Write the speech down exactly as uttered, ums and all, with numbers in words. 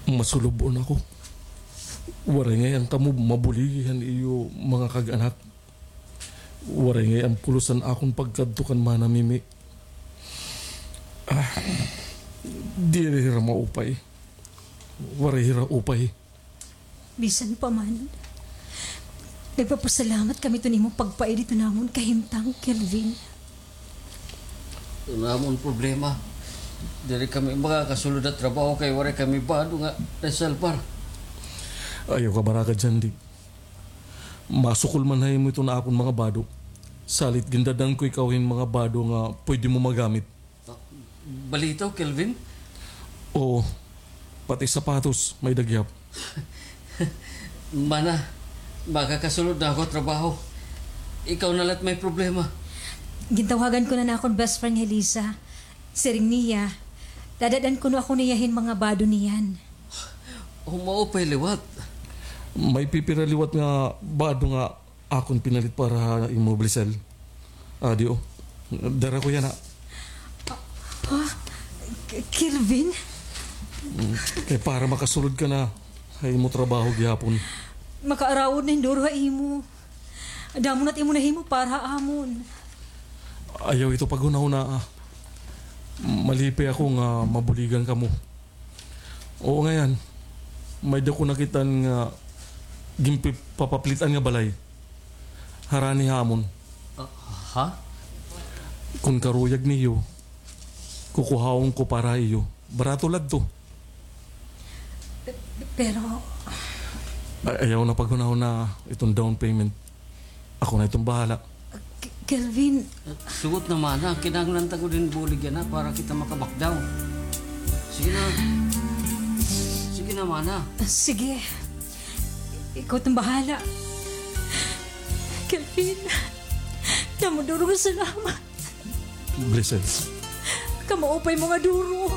Masulub-on ako. Waray ngay-an kamo mabuligi han iyo mga kag-anak. Waray ngay-an pulos an akon pagkadto kan Mana Mimi. Ah, diri hira maupay. Waray hira upay. Bisan pa man, nagpapasalamat kami iton imo pagpaid hiton amon kahimtang, Kelvin. Iton amon problema, diri kami makakasulod ha trabaho kay waray kami bado nga naisalbar. Ayaw kabaraka, Jandy. Masukol man ha imo iton akon mga bado. Salit gindad-an ko ikaw hin mga bado nga pwede mo magamit. Balitaw, Kelvin? Oo. Pati sapatos, may-ada gihap. Mana, makakasulod na ako ha trabaho. Ikaw na la it may problema. Gintawagan ko na an akon best friend nga hi Lisa. Siring niya, dadad-an kuno ako niya hin mga bado niyan. O, maupay liwat. May pipira liwat nga bado nga akon pinalit para ha imo, Blisel. Adi, o. Dara ko yana, ha. Ha? K-, Kelvin? Mm. Kay para makasulod ka na ha imo trabaho gihapon. Makaarawod na hin duro ha imo. Damo na it imo nahimo para ha amon. Ayaw ito paghunahunaa. Malipay ako nga mabuligan kamo. Oo, ngay-an. May-ada ko nakit-an nga ginpapaplit-an nga balay harani ha amon. Ah, ha? Kon karuyag niyo, kukuhaon ko para ha iyo. Barato la adto. Pe-, pero... Ay, ayaw na paghunahunaa iton down payment. Ako na iton bahala. K-, Kelvin. Sugot na, mana. Kinahanglan ta gud hin bulig yana para kita maka-back down. Sige na. Sige na, mana. Sige. Ikaw iton bahala. Kelvin, damo duro nga salamat. Blessed. Kamaupay mo nga duro.